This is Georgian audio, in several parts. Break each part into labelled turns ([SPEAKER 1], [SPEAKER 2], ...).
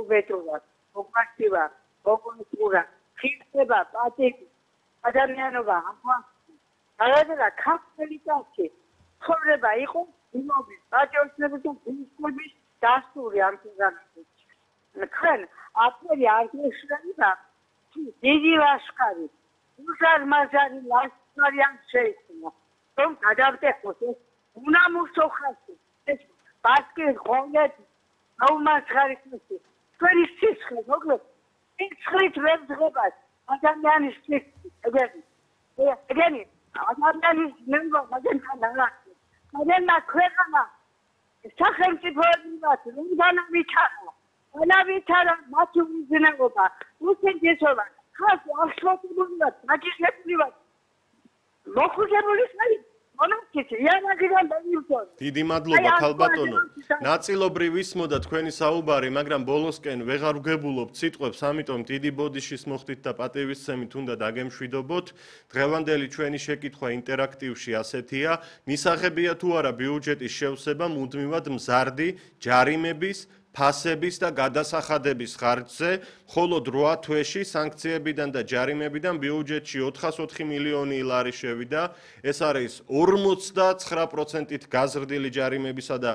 [SPEAKER 1] მოგბედრობა, მოგმართება, მოგუნწურა, ხილდება, პატივი, ადამიანობა, ამგვარად ქართველი კაცი ცხოვრება იყო იმობის, პატრიოტიზმის და ძინების დასტური ამ programში. თქვენ აფერი არ გეშლება დიდი ლაშქარი, უზარმაზარი ლაშქარი ამ შეიქმნა. რომ გადავტეხოს ეს უნამუშო ხალხი, ეს ბასკის ღონეთი, აუმასხარისმისი, თქვენი სიცხე, მოკლედ, სიცხით ვერ ძღებას, ადამიანის სიცხით, ეგენი, ადამიანის ნებო, მაგენთან აღახსნე. მაგენმა ქვეყანა, სახელმწიფოებრივად, რომდანა ვითარა, მათი უზნეობა, უსინჯესობა, ხალხი აღშფოთებულიවත්, მაგისლებულიවත්, მოხუცებული ხალხი,
[SPEAKER 2] დიდი მადლობა ქალბატონო. ნაწილობრივ ისმოდა თქვენი საუბარი, მაგრამ ბოლოსკენ ვეღარ ვგებულობთ სიტყვებს, ამიტომ დიდი ბოდიშის მოხდით და პატივისცემით უნდა დაგემშვიდობოთ. დღევანდელი ჩვენი შეკითხვა ინტერაქტივში ასეთია: მისაღებია თუ არა ბიუჯეტის შევსება მუდმივად მზარდი ჯარიმების, ფასების და გადასახადების ხარჯზე, მხოლოდ 8 თვეში სანქციებიდან და ჯარიმებიდან ბიუჯეტში 404 მილიონი ლარი შევიდა. ეს არის 59%-ით გაზრდილი ჯარიმებისა და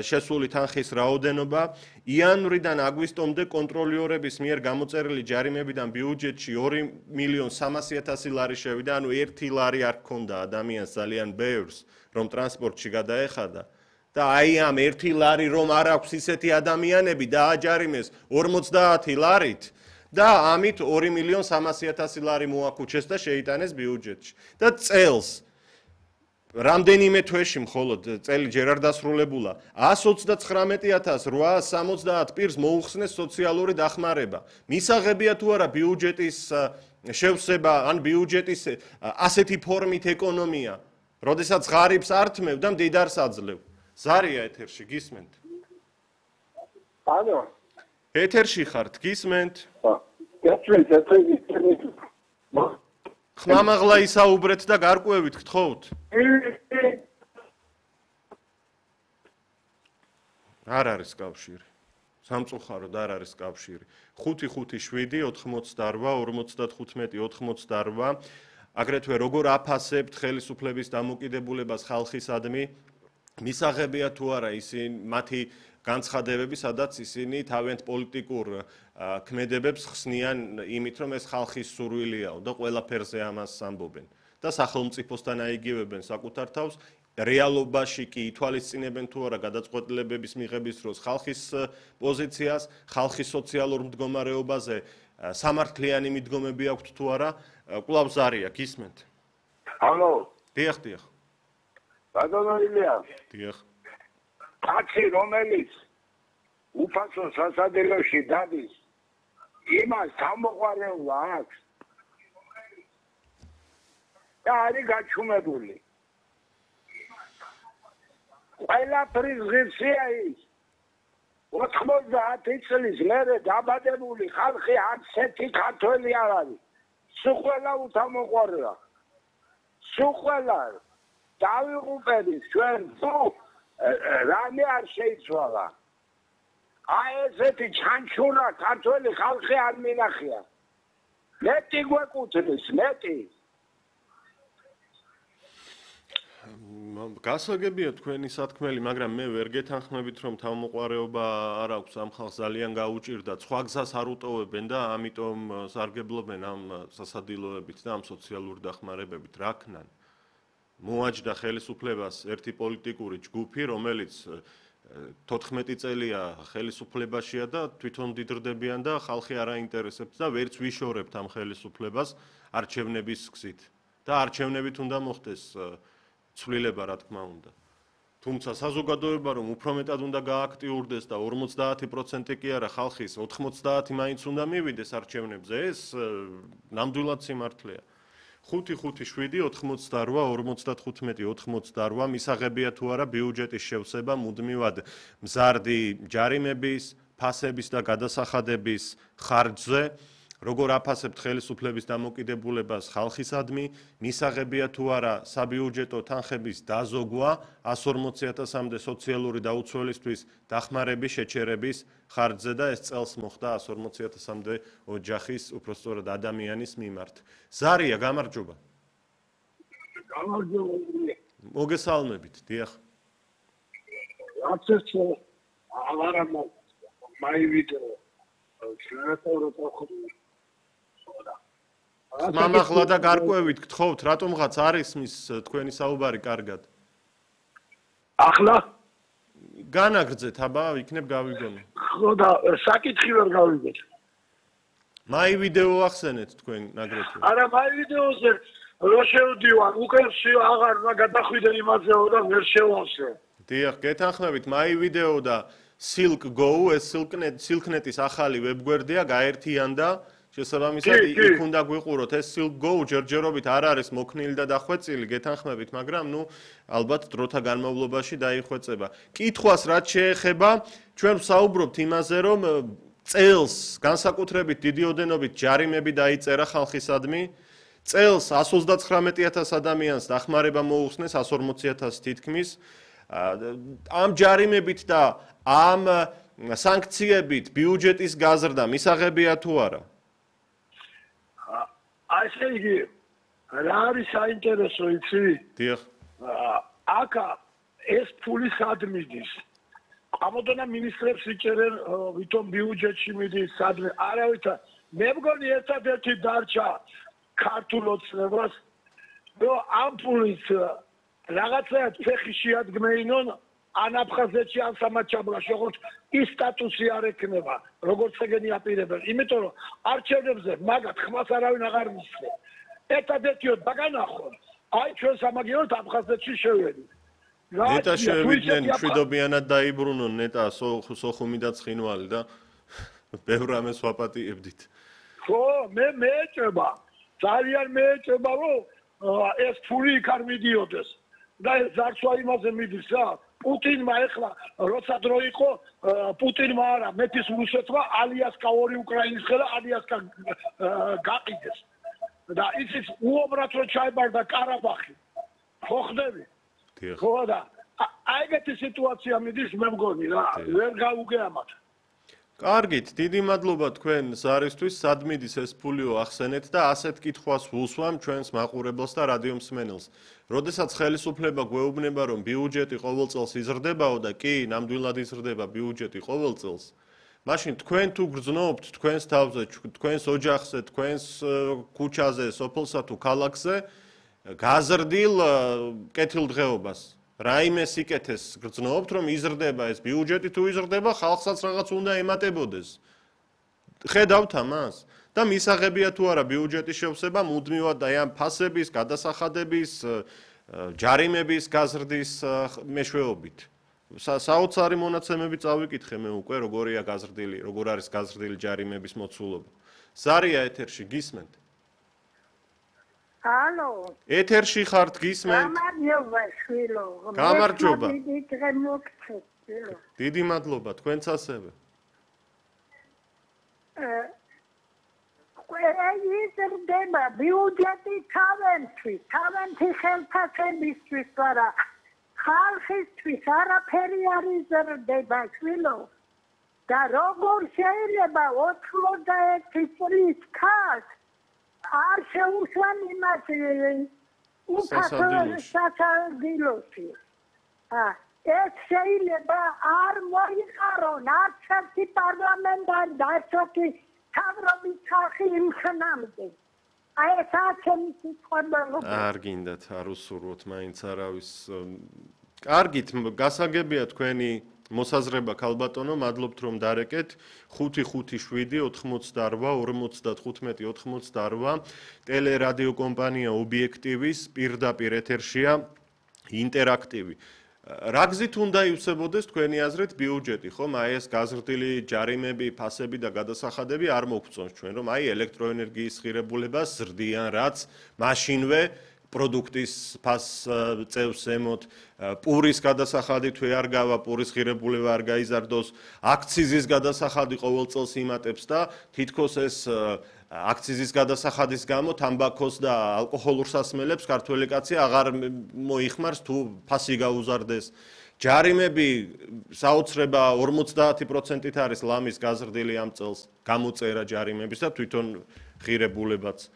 [SPEAKER 2] შესული თანხის რაოდენობა. იანვრიდან აგვისტომდე კონტროლიორების მიერ გამოწერილი ჯარიმებიდან ბიუჯეტში 2.300.000 ლარი შევიდა, ანუ 1 ლარი არ ჰქონდა ადამიანს ძალიან ბევრს, რომ ტრანსპორტში გადაეხადა. და აი ამ 1 ლარი რომ არ აქვს ისეთი ადამიანები დააჯარიმეს 50 ლარით და ამით 2.300.000 ლარი მოაქუჩეს და შეიტანეს ბიუჯეტში. და წელს რამდენიმე თვეში მხოლოდ წელი ჯერ არ დასრულებულა 129.870 პირს მოუხსნეს სოციალური დახმარება. მისაღებია თუ არა ბიუჯეტის შევსება ან ბიუჯეტის ასეთი ფორმით ეკონომია, როდესაც ღარიბს ართმევ და მდიდარს აძლევ. ზარია ეთერში გისმენთ?
[SPEAKER 3] ალო.
[SPEAKER 2] ეთერში ხართ, გისმენთ?
[SPEAKER 3] გასვენთ,
[SPEAKER 2] ხმამაღლა ისაუბრეთ და გარკვევით გთხოვთ. არ არის კავშირი. სამწუხაროდ არ არის კავშირი. 557 88 55 88. აგრეთვე როგორ აფასებთ ხელისუფლების დამოკიდებულებას ხალხისადმი? მისაღებია თუ არა ისინი მათი განცხადებები, სადაც ისინი თავიანთ პოლიტიკურ ქმედებებს ხსნიან იმით, რომ ეს ხალხის სურვილიაო და ყველაფერზე ამას ამბობენ და სახელმწიფოსთან აიგივებენ საკუთარ თავს, რეალობაში კი ითვალისწინებენ თუ არა გადაწყვეტილებების მიღების დროს ხალხის პოზიციას, ხალხის სოციალურ მდგომარეობაზე სამართლიანი მიდგომები აქვთ თუ არა, კვლავ ზარია, გისმენთ?
[SPEAKER 3] ალო.
[SPEAKER 2] დიახ.
[SPEAKER 3] ბატონო ილია.
[SPEAKER 2] დიახ.
[SPEAKER 3] კაცი რომელიც უფასო სასადილოში დადის, იმას გამოყვარევა აქვს. და არის გაჩუმებული. ყველაფრის ღირსია ის. 90 წლის მერე დაბადებული ხალხი არცერთი ქართველი არ არის. სულ უთამოყვარევა. სულ დავიღუპებით ჩვენ თუ რამე არ შეიცვალა. აი ესეთი ჩანჩურა ქართველი ხალხი არ მინახია. მეტი გვეკუთვნის, მეტი.
[SPEAKER 2] გასაგებია თქვენი სათქმელი, მაგრამ მე ვერ გეთანხმებით, რომ თავმოყვარეობა არ აქვს ამ ხალხს ძალიან გაუჭირდა. სხვა გზას არ უტოვებენ და ამიტომ სარგებლობენ ამ სასადილოებით და ამ სოციალურ დახმარებებით. რა ქნან? მოაჯდა ხელისუფლებას ერთი პოლიტიკური ჯგუფი, რომელიც 14 წელია ხელისუფლებაშია და თვითონ დიდრდებიან და ხალხი არ აინტერესებს და ვერც ვიშორებთ ამ ხელისუფლებას არჩევნების გზით. და არჩევნებით უნდა მოხდეს ცვლილება, რა თქმა უნდა. თუმცა საზოგადოება რომ უფრო მეტად უნდა გააქტიურდეს და 50% კი არა ხალხის 90 მაინც უნდა მივიდეს არჩევნებზე, ეს ნამდვილად სიმართლეა. 557-88-55-88 მისაღებია თუ არა ბიუჯეტის შევსება მუდმივად მზარდი ჯარიმების, ფასების და გადასახადების ხარჯზე, როგორ აფასებთ ხელისუფლების დამოკიდებულებას ხალხისადმი, მისაღებია თუ არა საბიუჯეტო თანხების დაზოგვა 140.000-მდე სოციალური დაუცველისთვის დახმარების შეჩერების ხარჯზე და ეს წელს მოხდა 140.000-მდე ოჯახის, უпростоრად ადამიანის მიმართ. ზარია, გამარჯობა.
[SPEAKER 3] გამარჯობა.
[SPEAKER 2] მოგესალმებით, დიახ.
[SPEAKER 3] რაც ეს აღარამა მაივიდეო შეიძლება
[SPEAKER 2] მამახლა და გარკვევით გთხოვთ, რატომღაც არ ისმის თქვენი საუბარი კარგად.
[SPEAKER 3] ახლა
[SPEAKER 2] განაგრძეთ, აბა, იქნებ გავიგონო.
[SPEAKER 3] ხო და საკითხი ვერ გავიგეთ.
[SPEAKER 2] მაი ვიდეო ახსენეთ თქვენ აგრეთვე.
[SPEAKER 3] არა, მაი ვიდეოზე რო შევდივარ, უკვე აღარ გადახვიდე იმაზეო და ვერ შევავსე.
[SPEAKER 2] დიახ, გეთანხმებით, მაი ვიდეო და Silk Go, ეს Silknet-ის ახალი ვებგვერდია, გაერთიანდა. შესაბამისად, იქ უნდა გვიყუროთ ეს Silk Go ჯერჯერობით არ არის მოქნილი და დახვეწილი, გეთანხმებით, მაგრამ ალბათ დროთა განმავლობაში დაიხვეწება. კითხვას რაც შეეხება, ჩვენ ვსაუბრობთ იმაზე, რომ წელს განსაკუთრებით დიდი ოდენობით ჯარიმები დაიწერა ხალხისადმი. წელს 139.000 ადამიანს დახმარება მოუხსნეს, 140.000 თითქმის. ამ ჯარიმებით და ამ სანქციებით ბიუჯეტის გაზრდა მისაღებია თუ არა?
[SPEAKER 3] ასე იგი, რა არის საინტერესო იცი?
[SPEAKER 2] დიახ.
[SPEAKER 3] აქ ეს ფული სად მიდის? ამოდონა მინისტრებს იჭერენ, ვითომ ბიუჯეტში მიდის, სადმე არავითარ. მე მგონი ერთადერთი დარჩა ქართულ ოცნებას, რომ ამ ფულით რაღაცა ფეხი შეადგმეინონ ან აფხაზეთში, ან სამაჩაბლაში, როგორც ის სტატუსი არ ექნება, როგორც ეგენი აპირებენ. იმიტომ რომ არჩევნებზე მაგათ ხმას არავინ აღარ მისცე. ერთადერთიოდ ბაგანახონ, აი ჩვენ სამაგიეროდ აფხაზეთში შევედით.
[SPEAKER 2] ნეტა შევიდნენ, მშვიდობიანად დაიბრუნონ ნეტა სოხუმი და ცხინვალი და ბევრ რამეს ვაპატიებდით.
[SPEAKER 3] ხო, მე მეეჭება. ძალიან მეეჭება, რომ ეს ფული იქ არ მიდიოდეს. და ეს ზარცვა იმაზე მიდის რა. პუტინმა ეხლა როცა დრო იყო პუტინმა არა მეფის რუსეთმა ალიასკა ორი უკრაინის ხელა ალიასკა გაყიდეს და ისიც უომრად რო ჩაებარდა ყარაბაღი ხო ხდები ხო და აიგეთი სიტუაცია მიდის მე მგონი რა ვერ გაუგეამათ.
[SPEAKER 2] კარგით, დიდი მადლობა თქვენ ზარისთვის, სად მიდის ეს ფულიო ახსენეთ და ასეთ კითხვას ვუსვამ ჩვენს მაყურებელს და რადიო მსმენელს. როდესაც ხელისუფლება გვეუბნება, რომ ბიუჯეტი ყოველ წელს იზრდებაო და კი, ნამდვილად იზრდება ბიუჯეტი ყოველ წელს, მაშინ თქვენ თუ გრძნობთ თქვენს თავზე, თქვენს ოჯახზე, თქვენს ქუჩაზე, სოფელსა თუ ქალაქზე გაზრდილ კეთილდღეობას. რაიმე სიკეთეს გრძნობთ, რომ იზრდება ეს ბიუჯეტი თუ იზრდება, ხალხსაც რაღაც უნდა ემატებოდეს. ხედავთ ამას? და მისაღებია თუ არა ბიუჯეტის შევსება მუდმივად აი ამ ფასების, გადასახადების, ჯარიმების გაზრდის მეშვეობით. საოცარი მონაცემები წავიკითხე მე უკვე, როგორია გაზრდილი, როგორ არის გაზრდილი ჯარიმების მოცულობა. ზარია ეთერში გისმენთ?
[SPEAKER 1] ალო.
[SPEAKER 2] ეთერში ხართ გისმენთ?
[SPEAKER 1] გამარჯობა, შვილო.
[SPEAKER 2] გამარჯობა.
[SPEAKER 1] დიდი
[SPEAKER 2] დიდი მადლობა, თქვენც ასევე.
[SPEAKER 1] იზრდება ბიუჯეტი თავენთვის ხელფასებისთვის, არა ხალხისთვის არაფერი არ იზრდება, შვილო. და როგორ შეიძლება 91 წლის ქალს არ შეუშვან იმას სასარგებლოში. ეს შეიძლება არ მოიყარონ არც ერთი პარლამენტარი და არც ერთი თავრობის ხალხი იმ ხნამდე. აი ეს აქემი სიტყვებია.
[SPEAKER 2] არ გინდათ არ უსურვოთ მაინც არავის. კარგით, გასაგებია თქვენი მოსაზრება ქალბატონო, მადლობთ რომ დარეკეთ. 555-88-45-88 ტელერადიო კომპანია ობიექტივის პირდაპირ ეთერშია ინტერაქტივი. რა გზით უნდა ივსებოდეს თქვენი აზრით ბიუჯეტი, ხომ? აი ეს გაზრდილი ჯარიმები, ფასები და გადასახადები არ მოგწონს ჩვენ, რომ აი ელექტროენერგიის ღირებულებას ზრდიან, რაც მაშინვე პროდუქტის ფას წევს ზემოთ, პურის გადასახადი თუ არ გავა, პურის ღირებულება არ გაიზარდოს, აქციზის გადასახადი ყოველ წელს იმატებს და თითქოს ეს აქციზის გადასახადის გამო თამბაქოს და ალკოჰოლურ სასმელებს ქართველი კაცი აღარ მოიხმარს თუ ფასი გაუზარდეს. ჯარიმები საოცრება 50%-ით არის ლამის გაზრდილი ამ წელს, გამოწერა ჯარიმების და თვითონ ღირებულებაც.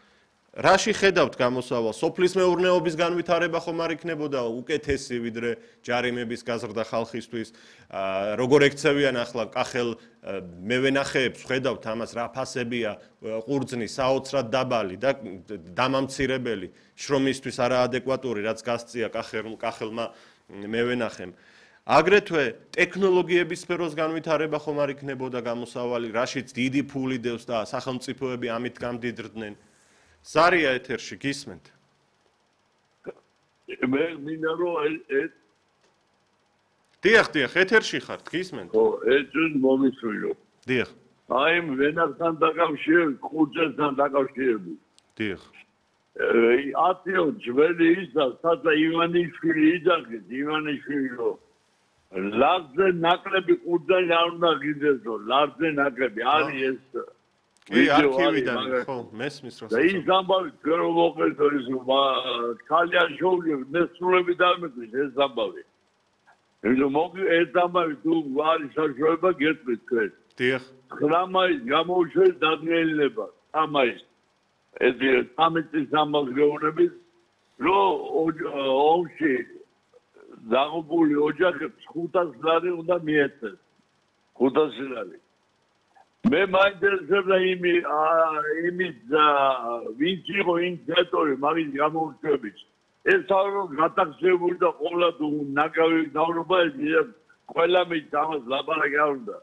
[SPEAKER 2] რაში ხედავთ გამოსავალს? სოფლის მეურნეობის განვითარება ხომ არ იქნებოდა უკეთესი ვიდრე ჯარიმების გაზრდა ხალხისთვის? როგორ ექცევიან ახლა კახელ მევენახეებს, ხედავთ ამას რა ფასებია ყურძნის საოცრად დაბალი და დამამცირებელი, შრომისთვის არაადეკვატური, რაც გასწია კახელმა მევენახემ. აგრეთვე ტექნოლოგიების სფეროს განვითარება ხომ არ იქნებოდა გამოსავალი, რაშიც დიდი ფული დევს და სახელმწიფოები ამით გამდიდრდნენ. ზარია ეთერში გისმენთ?
[SPEAKER 4] მე მინდა რომ
[SPEAKER 2] დიახ, ეთერში ხართ, გისმენთ?
[SPEAKER 4] ხო, ეს მომისვიო.
[SPEAKER 2] დიახ.
[SPEAKER 4] აი ვენახთან დაკავშირებით, ხუძესთან დაკავშირებით.
[SPEAKER 2] დიახ.
[SPEAKER 4] ათიო ძველი ისა, სადა ივანიშვილი იძახით, ივანიშვილო. ლარზე ნაკლები ხუძანი არ უნდა გიძესო, ლარზე ნაკლები არის ეს.
[SPEAKER 2] კი, არქივიდან, ხო, მესმის რა.
[SPEAKER 4] და ის ამბავი ჯერ მოყევთ ის ქალიაშოვი მესრულები დამეწვის ეს ამბავი. იმიტომ მოგი ეს ამბავი თუ არის საშუალება გეტყვით თქვენ.
[SPEAKER 2] დიახ.
[SPEAKER 4] 9 მაისს გამოუშვეს დადგენილება. 3 მაისს. ეს 13 ამბავს გეუბნებით, რომ ომში დაღუპული ოჯახებს 500 ლარი უნდა მიეცეს. 500 ლარი. მე მაინტერესებდა იმის ვინც იყო ინიციატორი მაგის გამოუშვების. ეს თავრო გატახსებული და ყოლა თუ ნაკავი დავრობა ეს ყველა მის ამას ლაპარაკი არ უნდა.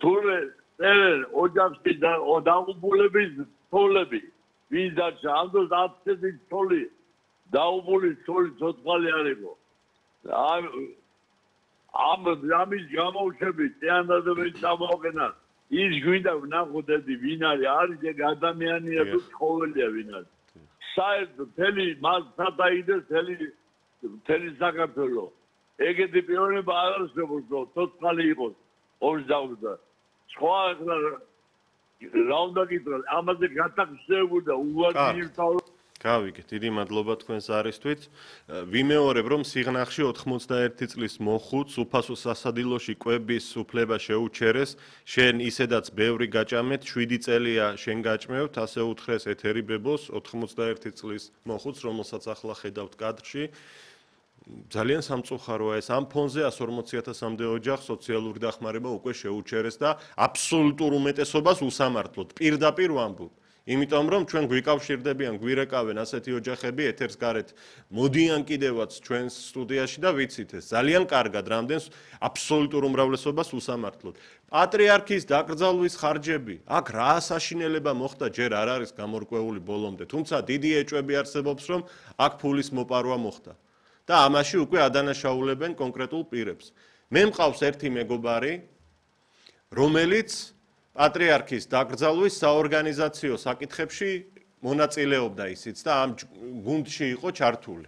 [SPEAKER 4] თურმე წერენ ოჯახში დაღუპულების თოლები ვინ დარჩა ამ დროს 10 თოლი დაუბული თოლი ცოცხალი არ იყო. ამის გამოუშვების წეანდადებს ამოყენან ის გვინდა ვნახოთ ვინ არის ეგ ადამიანია თუ ცხოველია ვინ არის. საერთოდ მთელი მას სადაიდეს მთელი საქართველო. ეგეთი პიროვნება არ არსებობს რომ ცოცხალი იყოს ორს დაუძა. სხვა რა უნდა გითხრათ ამაზე გატახსებული და უვარდი იმთავრ
[SPEAKER 2] გავიგეთ, დიდი მადლობა თქვენს არისთვის. ვიმეორებ, რომ სიღნაღში 91 წლის მოხუც უფასო სასადილოში კვების უფლება შეუჩერეს, შენ ისედაც ბევრი გაჭამეთ, 7 წელია შენ გაჭმევთ, ასე უთხრეს ეთერი ბებოს 91 წლის მოხუც, რომელსაც ახლა ხედავთ კადრში. ძალიან სამწუხაროა ეს ამ ფონზე 140,000-მდე ოჯახს სოციალური დახმარება უკვე შეუჩერეს და აბსოლუტურ უმეტესობას უსამართლოდ პირდაპირ ვამბობ. იმიტომ რომ ჩვენ გვიკავშირდებიან, გვირეკავენ ასეთი ოჯახები ეთერს გარეთ, მოდიან კიდევაც ჩვენს სტუდიაში და ვიცით ეს ძალიან კარგად რამდენს აბსოლუტურ უმრავლესობას უსამართლოდ. პატრიარქის დაკრძალვის ხარჯები, აქ რა საშინელება მოხდა ჯერ არ არის გამორკვეული ბოლომდე, თუმცა დიდი ეჭვები არსებობს რომ აქ ფულის მოპარვა მოხდა. და ამაში უკვე ადანაშაულებენ კონკრეტულ პირებს. მე მყავს ერთი მეგობარი, რომელიც პატრიარქის დაკრძალვის საორგანიზაციო საკითხებში მონაწილეობდა ისიც და ამ გუნდში იყო ჩართული.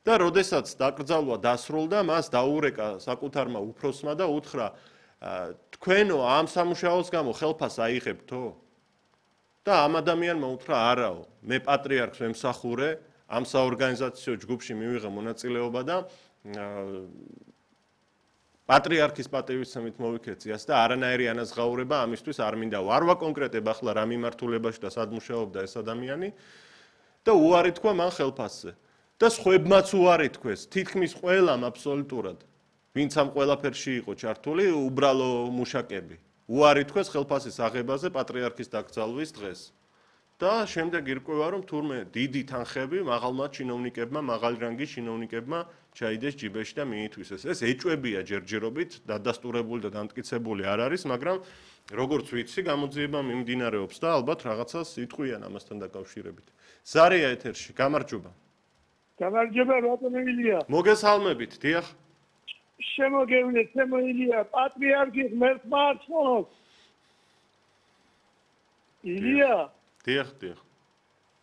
[SPEAKER 2] და როდესაც დაკრძალვა დასრულდა, მას დაურეკა საკუთარმა უფროსმა და უთხრა, თქვენო ამ სამუშაოს გამო ხელფას აიღებთო? და ამ ადამიანმა უთხრა, არაო, მე პატრიარქს ვემსახურე, ამ საორგანიზაციო ჯგუფში მივიღე მონაწილეობა და პატრიარქის პატივისცემით მოვიქეციას და არანაირი ანაზღაურება ამისთვის არ მინდა. არ ვაკონკრეტებ ახლა რა მიმართულებაში და სად მუშაობდა ეს ადამიანი და უარი თქვა მან ხელფასზე. და სხვებმაც უარი თქვეს, თითქმის ყველამ აბსოლუტურად, ვინც ამ ყველაფერში იყო ჩართული, უბრალო მუშაკები. უარი თქვეს ხელფასის აღებაზე პატრიარქის დაკრძალვის დღეს. და შემდეგ ირკვევა რომ თურმე დიდი თანხები მაღალმა ჩინოვნიკებმა, მაღალი რანგის ჩინოვნიკებმა ჩაიდეს ჯიბეში და მიითვისეს. ეს ეჭვებია ჯერჯერობით, დადასტურებული და დამტკიცებული არ არის, მაგრამ როგორც ვიცი, გამოძიება მიმდინარეობს და ალბათ რაღაცას იტყვიან ამასთან დაკავშირებით. ზარია ეთერში, გამარჯობა.
[SPEAKER 3] გამარჯობა, ბატონო ილია.
[SPEAKER 2] მოგესალმებით, დიახ.
[SPEAKER 3] შემოგევლეთ, ილია, პატრიარქის მერცხმა არცხოვს. ილია
[SPEAKER 2] დიახ.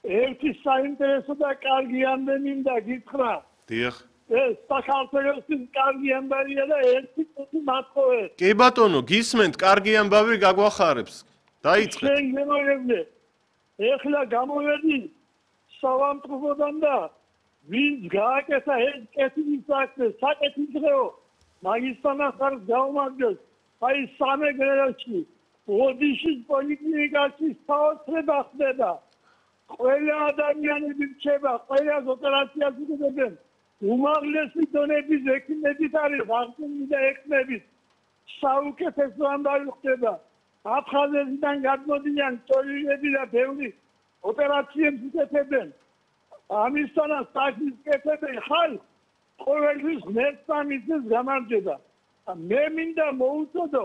[SPEAKER 3] ერთი საინტერესო და კარგი ამდენი მინდა გითხრა.
[SPEAKER 2] დიახ.
[SPEAKER 3] ეს საქართველოს კარგი ამბავია და ერთი წუთი მათხოვე.
[SPEAKER 2] კი ბატონო, გისმენთ, კარგი ამბავი გაგვახარებს. დაიწყეთ.
[SPEAKER 3] შენ გემოვლე. ეხლა გამოვედი სავანტყოდან და ვინც გააკეთა ეს კეთილი საქმე, საკეთილდღეო მაგისტრალს ხარს გაუმაგდეს. აი სამეგრელოში, ოდიშის პოლიკლინიკაში საოცრება ხდება. ყველა ადამიანები რჩება, ყველა ოპერაციას უწევენ. უმაღლესი დონების ექიმებით არის აღწევი და ექიმებით. საუკეთესო ამბავი ხდება. აფხაზეთიდან გადმოდიან ტოლიდები და ბევრი ოპერაციებს უკეთებენ. ამისთანაც საქმის კეთებენ ხალხ ყოველთვის მესამის გამარჯვება. მე მინდა მოუწოდო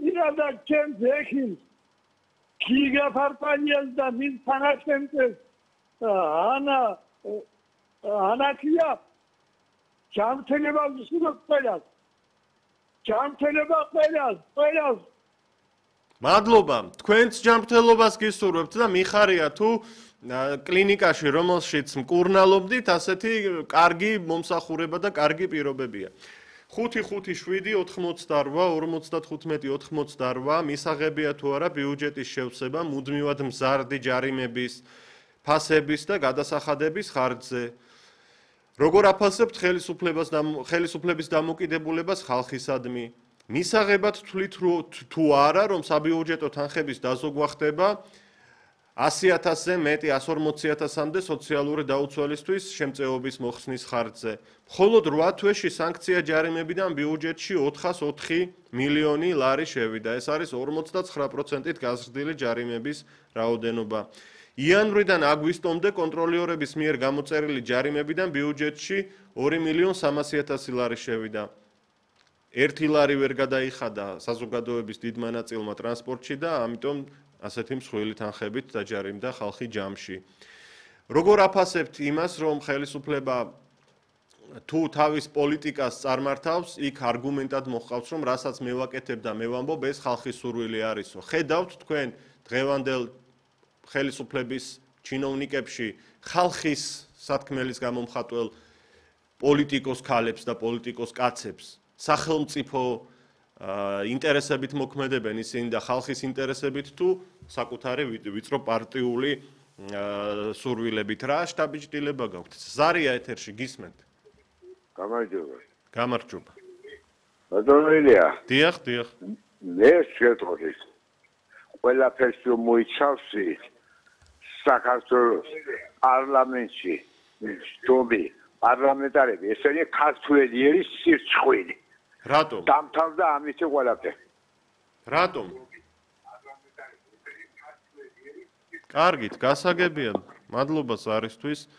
[SPEAKER 3] ირადა ჩემს ექიმს გიგა ფარფანიას და მის თანაშემწეს ანაკია ჯანმრთელობა ვსურვებ ყველას. ჯანმრთელობა ყველას.
[SPEAKER 2] მადლობა. თქვენც ჯანმრთელობას გისურვებთ და მიხარია თუ კლინიკაში რომელშიც მკურნალობდით, ასეთი კარგი მომსახურება და კარგი პირობებია. 5-5-7-88-55-88 მისაღებია თუ არა ბიუჯეტის შევსება მუდმივად მზარდი ჯარიმების, ფასების და გადასახადების ხარჯზე. როგორ აფასებთ ხელისუფლების დამოკიდებულებას ხალხისადმი? მისაღებად თვლით თუ არა, რომ საბიუჯეტო თანხების დაზოგვა ხდება 100,000-ზე მეტი 140,000-მდე სოციალური დაუცველისთვის შემწეობის მოხსნის ხარჯზე. მხოლოდ 8 თვეში სანქცია ჯარიმებიდან ბიუჯეტში 404 მილიონი ლარი შევიდა. ეს არის 59%-ით გაზრდილი ჯარიმების რაოდენობა. იანვრიდან აგვისტომდე კონტროლიორების მიერ გამოწერილი ჯარიმებიდან ბიუჯეტში 2,300,000 ლარი შევიდა. 1 ლარი ვერ გადაიხადა საზოგადოების დიდმა ნაწილმა ტრანსპორტში და ამიტომ ასეთი მსხვილი თანხებით დაჯარიმდა ხალხი ჯამში. როგორ აფასებთ იმას, რომ ხელისუფლება თუ თავის პოლიტიკას წარმართავს, იქ არგუმენტად მოჰყავს, რომ რასაც მე ვაკეთებ და მე ვამბობ, ეს ხალხის სურვილი არისო. ხედავთ თქვენ დღევანდელ ხელისუფლების ჩინოვნიკებში ხალხის სათქმელის გამომხატველ პოლიტიკოს ქალებს და პოლიტიკოს კაცებს, სახელმწიფო ინტერესებით მოქმედებენ ისინი და ხალხის ინტერესებით თუ საკუთარი ვიწრო პარტიული სურვილებით რა შტაბიჭდილება გაქვთ? ზარია ეთერში გისმენთ? გამარჯობა.
[SPEAKER 4] ბატონია.
[SPEAKER 2] დიახ.
[SPEAKER 4] მე შეტყობთ. ყველაფერს მოიცავსი საქართველოს პარლამენტში ჯობი პარლამენტარები ესენი ქართველი არის სირცხვილი.
[SPEAKER 2] რატომ?
[SPEAKER 4] დამთავრდა ამით ყველაფერი.
[SPEAKER 2] რატომ? კარგით, გასაგებია. მადლობა ზარისთვის.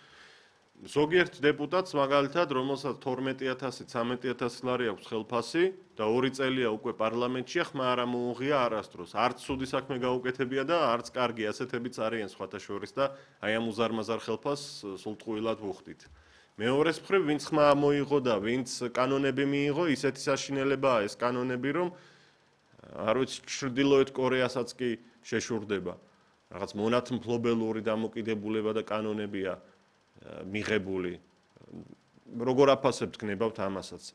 [SPEAKER 2] ზოგიერთ დეპუტატს მაგალითად, რომელსაც 12,000, 13,000 ლარი აქვს ხელფასი და 2 წელია უკვე პარლამენტშია, ხმა არ მოუღია არასდროს. არც ცუდი საქმე გაუკეთებია და არც კარგი ასეთებიც არიან სხვათა შორის და აი ამ უზარმაზარ ხელფასს სულტყუილად ვუხდით. მეორეს მხრივ, ვინც ხმა მოიღო და ვინც კანონები მიიღო, ისეთი საშინელებაა ეს კანონები, რომ არ ვიცი, ჩრდილოეთ კორეასაც კი შეშურდება. რაღაც მონათმფლობელური დამოკიდებულება და კანონებია მიღებული. როგორ აფასებთ გნებავთ ამასაც?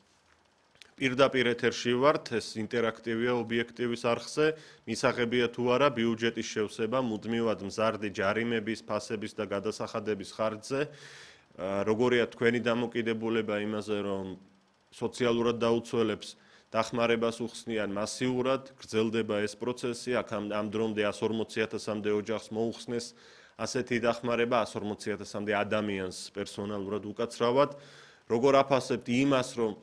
[SPEAKER 2] პირდაპირ ეთერში ვართ, ეს ინტერაქტივია ობიექტივის არხზე, მისაღებია თუ არა ბიუჯეტის შევსება მუდმივად მზარდი ჯარიმების, ფასების და გადასახადების ხარჯზე. როგორია თქვენი დამოკიდებულება იმაზე, რომ სოციალურად დაუცველებს დახმარებას უხსნიან მასიურად, გრძელდება ეს პროცესი, აქ ამ დრომდე 140,000-მდე ოჯახს მოუხსნეს ასეთი დახმარება 140,000-მდე ადამიანს პერსონალურად უკაცრავად. როგორ აფასებთ იმას, რომ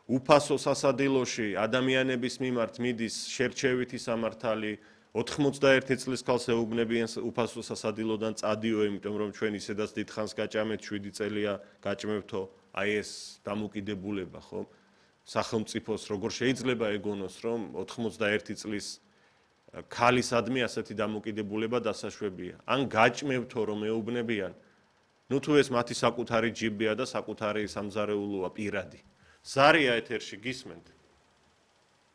[SPEAKER 2] უფასო სასადილოში ადამიანების მიმართ მიდის შერჩევითი სამართალი, 91 წლის ქალს ეუბნებიან უფასო სასადილოდან წადიო, იმიტომ რომ ჩვენ ისედაც დიდხანს გაჭამეთ, 7 წელია გაჭმევთო, აი ეს დამოკიდებულება, ხო? სახელმწიფოს როგორ შეიძლება ეგონოს, რომ 91 წლის ქალისადმი ასეთი დამოკიდებულება დასაშვებია. ან გაჭმევთო, რომ ეუბნებიან, ნუ თუ ეს მათი საკუთარი ჯიბია და საკუთარი სამზარეულოა პირადი. ზარია ეთერში გისმენთ?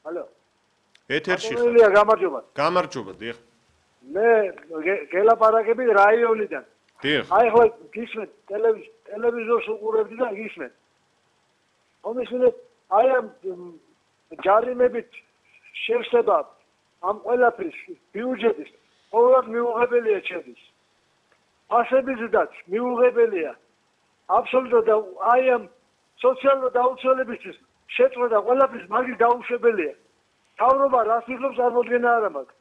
[SPEAKER 3] ალო.
[SPEAKER 2] ეთერში.
[SPEAKER 3] გამარჯობა.
[SPEAKER 2] გამარჯობა, დიახ.
[SPEAKER 3] მე გელაპარაკები რაიონიდან.
[SPEAKER 2] დიახ.
[SPEAKER 3] აი ხო გისმენთ ტელევიზორს უყურებდი და გისმენთ. მომისმინეთ აი ამ ჯარიმებით შევსება ამ ყველაფრის ბიუჯეტის ყოველად მიუღებელია ჩემთვის. ასებიზდაც მიუღებელია. აბსოლუტურად აი ამ სოციალური დაუცველებისთვის შეწყვეტა ყველაფრის მაგის დაუშვებელია. თავრობა რას იღებს წარმოდგენა არ მაქვს.